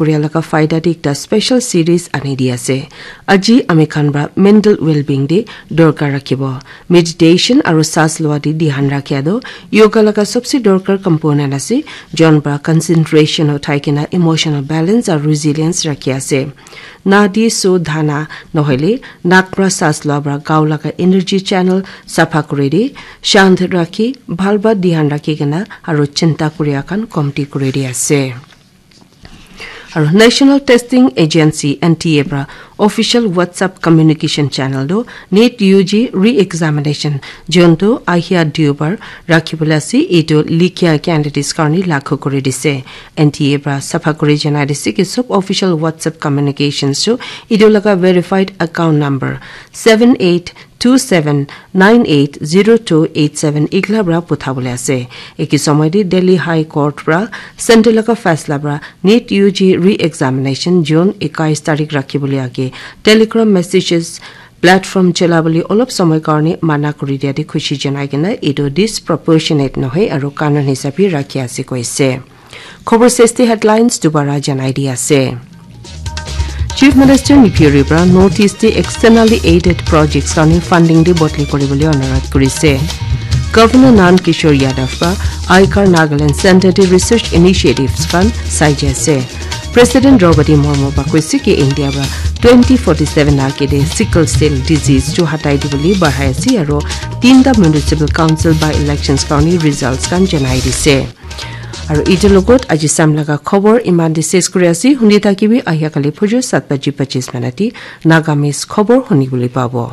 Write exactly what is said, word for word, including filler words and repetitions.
koria laga faida te ekta special series ani di ase. Aji ami khan pra mental well-being te dorkar rakhibo. Meditation aru saas loa te dhyan rakhia toh yoga laga sabse dorkar component ase, jon pra concentration uthai kena emotional balance aru resilience rakhi ase. Nadi sudhana nohoile nak pra saas loa pra gao laga energy channel sapha kuri di, shant rakhi, bhal pra dhyan rakhi kena aru chinta kuria khan komti kuri di ase. Aru National Testing Agency, N T A pra official WhatsApp communication channel toh NEET U G re-examination, jonto ahia Deobar rakhibole ase, etu likhia candidates karni lakhu kuri dise. N T A pra sapha kuri janai dise ki sob official WhatsApp communications toh etu laga verified account number seven eight two seven nine eight zero two eight seven ikla pra puthabole ase. Eki somoy te Delhi High Court pra center laga faisla pra NEET U G re-examination June ekais tarik rakhibole age Telegram messages platform chalabole olop somoy karne mana kuri dia te khushi janai kena etu disproportionate nohoi aru kanun hisabe rakhi ase koise. Khobor sesti headlines dubara janai di ase. Chief Minister Neiphiu Rio pra North East te externally aided projects karni funding te bodli kuri bole anurodh kuri ase. Governor Nand Kishore Yadav pra Aikar Nagaland Center te research initiatives khan sai jai ase. President Draupadi Murmu pra koise ki India pra twenty forty-seven ake te sickle cell disease chu hatai di bole bahai ase aru tinta municipal council by elections karni results khan janai dise. Aru etu logot aji sam laga khobor iman te ses kuri ase. Huni thakibi ahia kali phujur sat baji pachis minute te Nagamese khobor huni bole pabo.